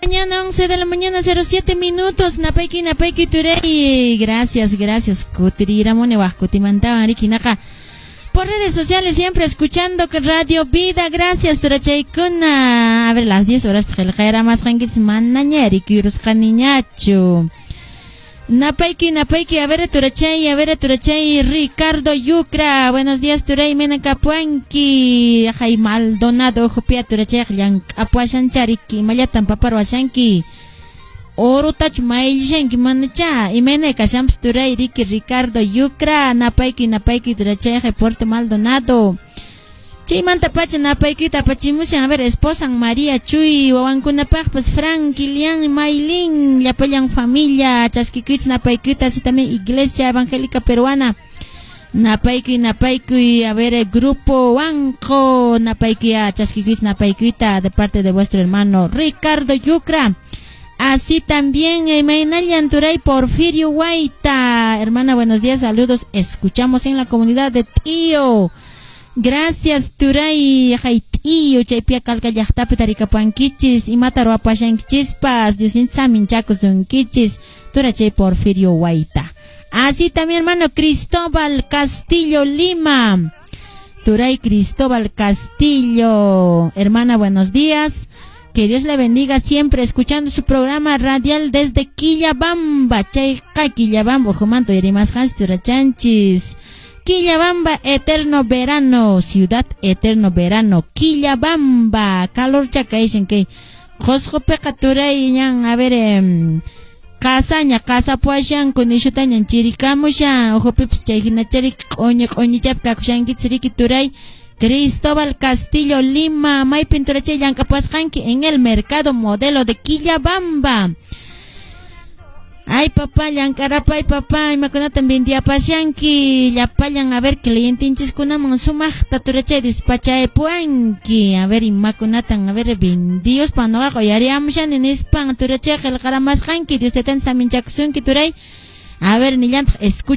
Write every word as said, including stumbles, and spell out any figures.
Mañana once de la mañana cero siete minutos. Napayki, napayki, turay. Gracias, gracias. Kutiriramuni waj kutimantawan riki naqa. Por redes sociales siempre escuchando que Radio Vida. Gracias, turachaykuna. A ver, las diez horas qillqayramasqankichis manaña rikuyurusqaniñachu. Napayki, napayki, a ver, turachay, a ver, turachay, Ricardo Yucra. Buenos días, turay, mena kapuanki. Jay Maldonado, jupia, turachay, llank'apuashanchariki, imallatan paparwashanki. Orotachu mayllishanki manacha. Imayna kashanpas, turay, riki, Ricardo Yucra. Napayki, napayki, turachay, Puerto Maldonado. Chaymanta pacha napaykita apachimushan, a ver, esposan María Chuy, wawankunapaqpas Frank, Kilian, Maylin, llapallan familia, chaskikuychis napaykita, así también Iglesia Evangélica Peruana. Napaykuy, napaykuy, a ver, Grupo Wanko, napaykuy, chaskikuychis napaykuyta de parte de vuestro hermano Ricardo Yucra. Así también, imaynallan, turay Porfirio Guaita. Hermana, buenos días, saludos. Escuchamos en la comunidad de Tío. Gracias, turay, tío, chaypia kalka llaqtapi tarikapuankichis, imata ruwapashankichispas, Dios saminchakusunkichis, turachay Porfirio Guaita. Así también, hermano Cristóbal Castillo Lima. Turay Cristóbal Castillo. Hermana, buenos días. Que Dios le bendiga siempre escuchando su programa radial desde Quillabamba. Chayqa Quillabamba, ukhumanta uyarimasqanchis turachanchis. Quillabamba, eterno verano, ciudad eterno verano, Quillabamba, calor chakayshan kay Qosqopiqa turay ñan, a ver, eh, qasaña qasapuashanku nishutañan chirikamushan ukhupipas chay hinachari q'uñi q'uñichapi kakushankichis riki turay Cristóbal Castillo Lima. Maypin, turachay, llank'apasqanki? En el mercado modelo de Quillabamba. Ay, papá, llank'arapay, papá, imakunatan vendiapashanki llapallan, a ver, clientinchiskunaman sumaqta turachay despachaypuanki. A ver, imakunatan, a ver, vendiospa nuqaqa uyariamushani nispan turachay qillqaramasqanki. Dios taytan saminchakusunki, turay. A ver, nillantaq escucha.